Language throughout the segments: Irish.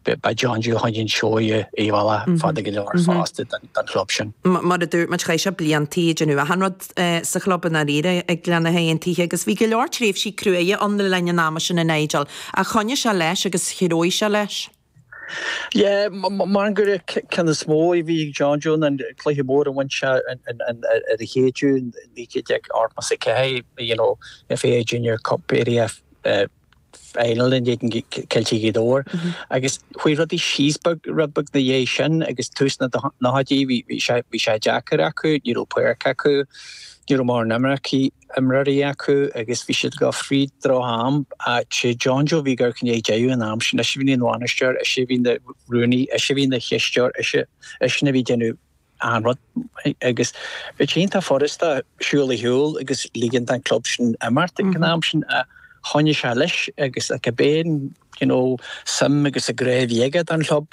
Ba John Joe a choinnigh an seó ar bhealach fada go leor fosta don chlub sin. Mar a dúirt muid, chaith sé bliantaí ag déanamh achan rud sa chlub i ndáiríre ag Gleann Átha Aontaithe agus bhí go leor tréimhsí cruaidhe ann le linn an ama sin a Nigel, ach choinnigh sé leis agus threabh sé leis. Yeah, mar gur an ceann is mó a bhí ag John Joe ná an cluiche mór a bhain sé ar a chéidiú in 1984, you know, FAI Junior Cup Area Final in éadan Ceiltigh Ghaoth Dobhair agus chuaigh rudaí síos beag, rud beag na dhiaidh sin agus tús na nóchaidí bhí sé, bhí sé deacair acu, ní raibh páirc acu, ní raibh mórán imircí, imreoirí acu agus bhí siad ag dul fríd droch-am ach sé John Joe a bhí ag amharc i ndiaidh deireadh an am sin, eisean a bhí ina bhainisteoir, eisean a bhí ina rúnaí, eisean a bhí ina chisteoir, eisean a bhí ag déanamh an rud agus bhí sé iontach furasta siúl ar shiúl agus ligean don club sin imeacht ag an am sin ach choinnigh sé leis agus cibé an you know suim agus an grá a bhí aige don chlub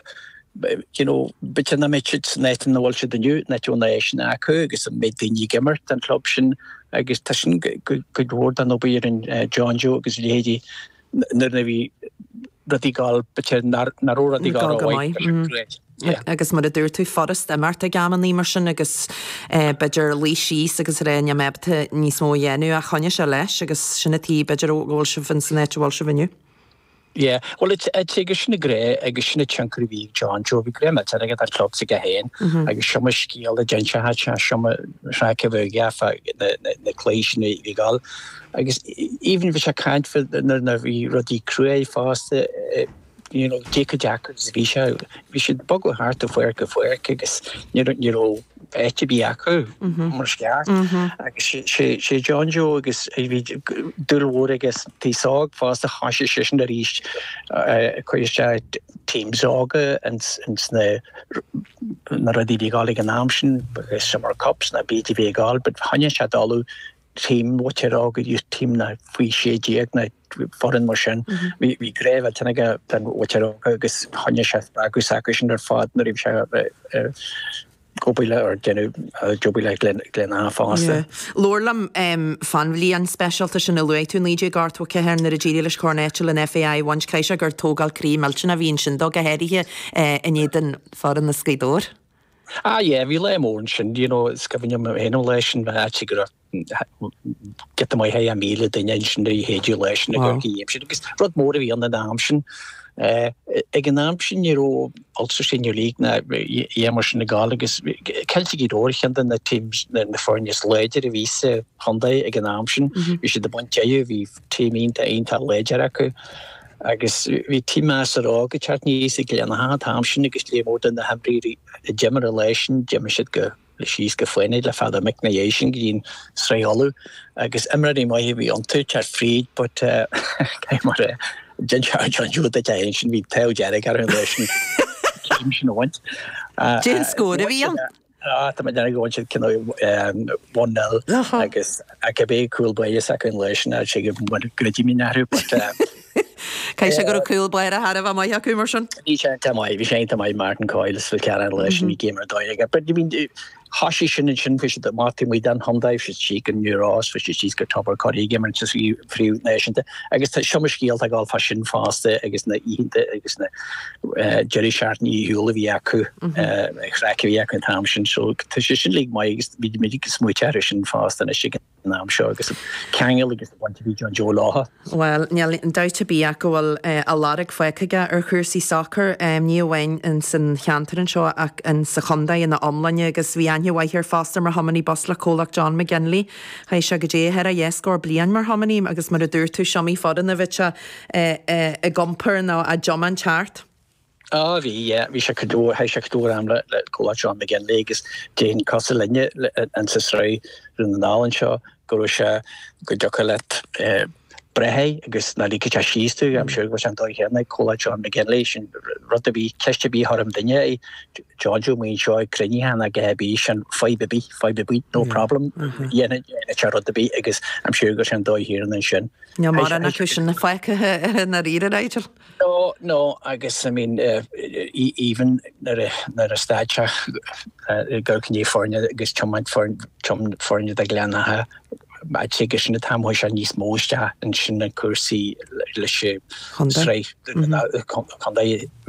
you know b'fhéidir nach mbeadh siad san áit ina bhfuil siad inniu nach mbeadh na háiseanna acu agus an méid daoine ag imirt don chlub sin agus tá sin cuid mhór den obair a rinne John Joe agus a leithéidí nuair a bhí rudaí ag dul, b'fhéidir nach raibh rudaí ag dul rómhaith. Agus mar a dúirt tú, furast imeacht ag amannaí mar sin agus b'fhéidir luí síos agus rá níl mé ábalta níos mó a dhéanamh ach choinnigh sé leis agus sin an tuige b'fhéidir go bhfuil sibh ins an áit a bhfuil sibh inniu. Yeah, bhuel it's agus sin an grá agus sin an tionchar a bhí ag John Joe, bhí grá millteanach aige don chlub s'aige féin agus is iomaí scéal a d'inis sé, is iomaí craic a bhí aige fá na cluichí sin a bhí ag dul. Agus even bhí sé ag caint fá nuair a bhí rudaí cruaidh fosta, you know, cé chomh deacair is a bhí sé, bhí siad ag bogadh thart ó pháirc go pháirc agus ní raibh, ní raibh áit ar bith acu mar is ceart. Agus sé, sé John Joe agus bhí dúil mhór aige san aos óg fosta, thoisigh seisean arís ag cur isteach teams óga ins, ins na, na rudaí a bhí ag dul ag an am sin, Summer Cups nó cibé a bhí ag dul, but choinnigh sé ag dul team mhuintir óga youth team na faoi 16 nó foireann mar sin. Bhí grá mhillteanach aige don mhuintir óga agus choinnigh sé spreagadh s'acu sin ar fad nuair a bhí sé ag obair le or déanamh ag obair le Gleann Átha fosta. Labhair liom fán bhliain speisialta sin a luaigh tú, 1984, nuair a d'éirigh leis Corn Eitil an FAI a bhaint. Caithfidh sé gur tógáil croí millteanach a bhí ansin dó, go háirithe in éadan foireann as Gaoth Dobhair. Ah yeah, bhí lá mór ansin, you know, is cuimhin liom féin an lá sin, bhí go raibh giota maith thar 1,000 duine ansin ar an lá sin i gCorcaigh aimsir agus rud mór a bhí ann an am sin. Ag an am sin ní raibh Ulster Senior League ná aon mar sin ag gabháil agus Ceiltigh Ghaoth Dobhair ceann de na teams na foirne is láidre a bhí sa chontae ag an am sin. Bhí siad ag baint deireadh, bhí team iontach iontach láidir acu. Agus bhí team measartha óg ag teacht aníos ag Gleann Átha an t-am sin agus léar mór de na himreoirí a d'imir an lá sin, d'imigh siad go síos go Fánaid le Peadar Mick na dhiaidh sin go dtí an Sraith Uladh agus imreoirí maithe a bhí iontu teacht fríd but caithfidh mé a rá d'inseodh John Joe duit é sin bhí an t-ádh dearg orthu an lá sin céim sin a bhaint. Cén scór a bhí ann? Ah, tá mé ag déanamh go bhfuil siad cineál one nil agus cibé cúl báire s'acu an lá sin, sé go gcreidim in athrú but Caithfidh sé go raibh cúl báire thar a bheith maith acu mar sin. Bhí sé iontach maith, bhí sé iontach maith Martin Coyle is Phil Callahan an lá sin, bhí game ar dóigh aige. But I mean, thoisigh sin ansin, bhí siad amach taobh amuigh den chontae, bhí siad síos go New Ross, bhí siad síos go Tober Corrie ag imirt sa chraobh náisiúnta. Agus tá is iomaí scéalta ag gabháil fá sin fosta agus na oícheanta agus na deireadh seachtaine ar shiúl a bhí acu, craic a bhí acu an t-am sin. So tá sé sin uilig maith agus bhí muid ag smaoiteamh air sin fosta anois ag an am seo agus an ceangal agus an bhaint a bhí John Joe leo. Bhuel, níl aon dabht ar bith ach go bhfuil a lorg fágtha aige ar chúrsaí sacair, ní amháin in san cheantar anseo ach in sa chontae ina iomláine agus bhí aithne mhaith air fosta mar thiománaí bus le comhlacht John McGinley. Chaith sé go dté thar a dhá scór bliain mar thiománaí agus mar a dúirt tú, is iomaí foireann a bhí sé ag iompar nó á dtiomáint thart. Á bhí, yeah, bhí sé cuid mhór, chaith sé cuid mhór am le le comhlacht John McGinley agus déarfainn cosúil linne in sa sraith Dhún na nGall anseo go raibh sé go dtiocfadh leat breith air agus ná ligfeadh sé síos tú, I'm sure go raibh sé an dóigh chéanna ag comhlacht John McGinley, sin rud ar bith, ceist ar bith a chuireann duine air, John Joe amuigh anseo ag cruinnithe ná a dhath ar bith, sin fadhb ar bith, fadhb ar bith, no problem, dhéanfadh sé rud ar bith agus I'm sure go raibh sé an dóigh chéanna ansin. Níl mórán acu sin fágtha i ndáiríre, Nigel. No, no, agus I mean even nuair a stad sé ag amharc i ndiaidh foirne agus tiomáint foirne do Ghleann Átha, I'd say gur sin an t-am a chuaigh sé níos mó isteach ansin na cúrsaí leis an sraith contae.